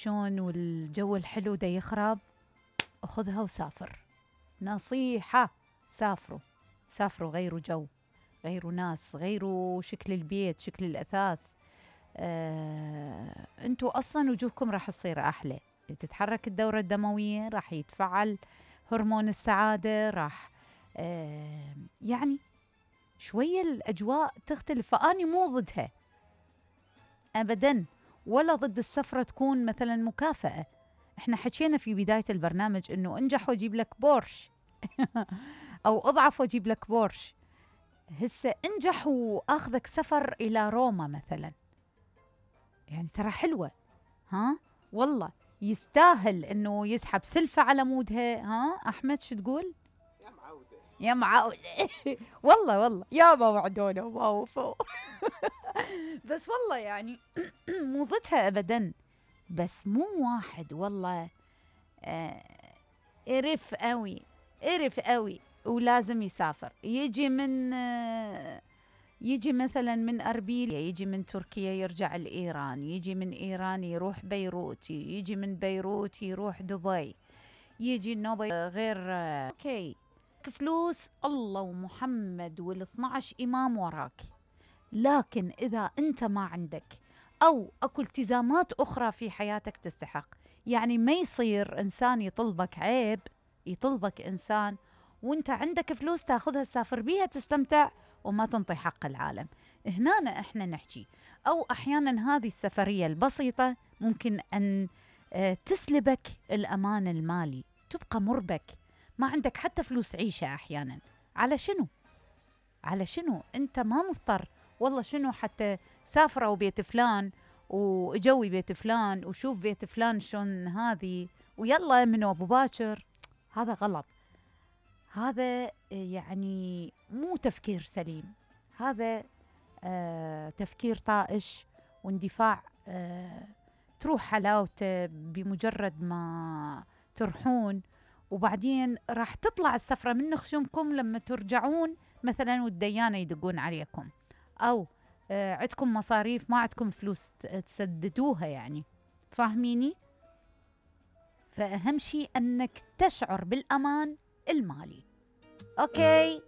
شلون والجو الحلو دا يخرب، خذها وسافر. نصيحة، سافروا سافروا، غيروا جو، غيروا ناس، غيروا شكل البيت، شكل الأثاث. انتوا أصلا وجوهكم راح تصير أحلى، تتحرك الدورة الدموية، راح يتفعل هرمون السعادة، راح يعني شوية الأجواء تختلف. فأني مو ضدها أبداً، ولا ضد السفرة تكون مثلاً مكافأة. احنا حكينا في بداية البرنامج انه انجح واجيب لك بورش او اضعف واجيب لك بورش. هسه انجح واخذك سفر الى روما مثلاً، يعني ترى حلوة، ها والله يستاهل انه يسحب سلفة على مودها. ها احمد شو تقول؟ يا معودة يا معودة والله يا ما وعدونا وما وفوا بس والله يعني مو ضدها ابدا، بس مو واحد والله قرف قوي، قرف قوي ولازم يسافر، يجي من يجي مثلا من أربيل، يجي من تركيا يرجع لإيران، يجي من إيران يروح بيروت، يجي من بيروت يروح دبي، يجي النوبة غير اوكي فلوس الله ومحمد وال12 إمام وراك. لكن إذا أنت ما عندك أو أكو التزامات أخرى في حياتك تستحق، يعني ما يصير إنسان يطلبك عيب، يطلبك إنسان وأنت عندك فلوس تاخذها تسافر بيها تستمتع وما تنطي حق العالم. هنا إحنا نحكي، أو أحيانا هذه السفرية البسيطة ممكن أن تسلبك الأمان المالي، تبقى مربك، ما عندك حتى فلوس عيشة أحيانا. على شنو؟ على شنو؟ أنت ما مضطر والله. شنو حتى سافروا بيت فلان وجوي بيت فلان وشوف بيت فلان شلون هذه ويلا من أبو باكر، هذا غلط. هذا يعني مو تفكير سليم، هذا تفكير طائش واندفاع تروح حلاوته بمجرد ما ترحون، وبعدين راح تطلع السفرة من خشمكم لما ترجعون مثلا والديانة يدقون عليكم، أو عندكم مصاريف ما عندكم فلوس تسددوها، يعني فاهميني؟ فأهم شيء أنك تشعر بالأمان المالي. أوكي